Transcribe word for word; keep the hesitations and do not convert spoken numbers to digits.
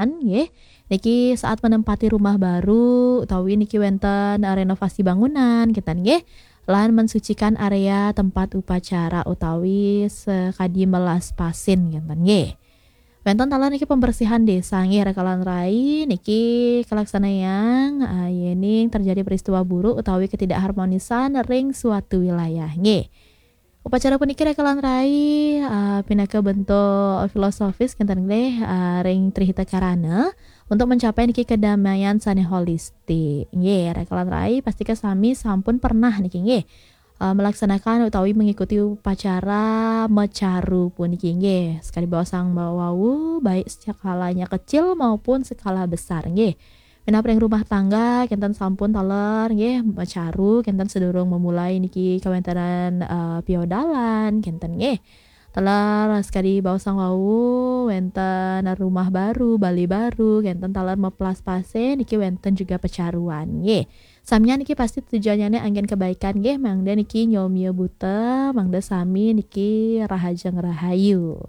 nggih. Niki saat menempati rumah baru utawi niki wenten renovasi bangunan kinten nggih. Lan mensucikan area tempat upacara utawi sekadi melas pasin kinten nggih. Wenten taler niki pembersihan desa nggih rekalan rai niki kalaksanayang, eh, yening terjadi peristiwa buruk utawi ketidakharmonisan ring suatu wilayah nggih. Upacara puniki rekalan rai, eh, pinaka bentuk filosofis kinten nggih, eh, ring Trihita Karana untuk mencapai niki kedamaian sane holistik. Nggih, rekalan rai pastika sami sampun pernah niki nggih, eh, melaksanakan utawi mengikuti upacara mecaru puniki nggih. Sekadi baosang wau, baik skalanya kecil maupun skala besar nggih. Minab ring rumah tangga kinten sampun taler nggih mecaru kinten sedurung memulai niki kawentenan, eh, piodalan kinten nggih. Taler sekadi baosang wau wenten rumah baru, bali baru, kinten taler meplas pasin niki wenten juga pecaruan nggih. Samian niki pasti tujuannya anggen kebaikan nggih, mangda niki nyomia buta, mangda sami niki rahajeng rahayu.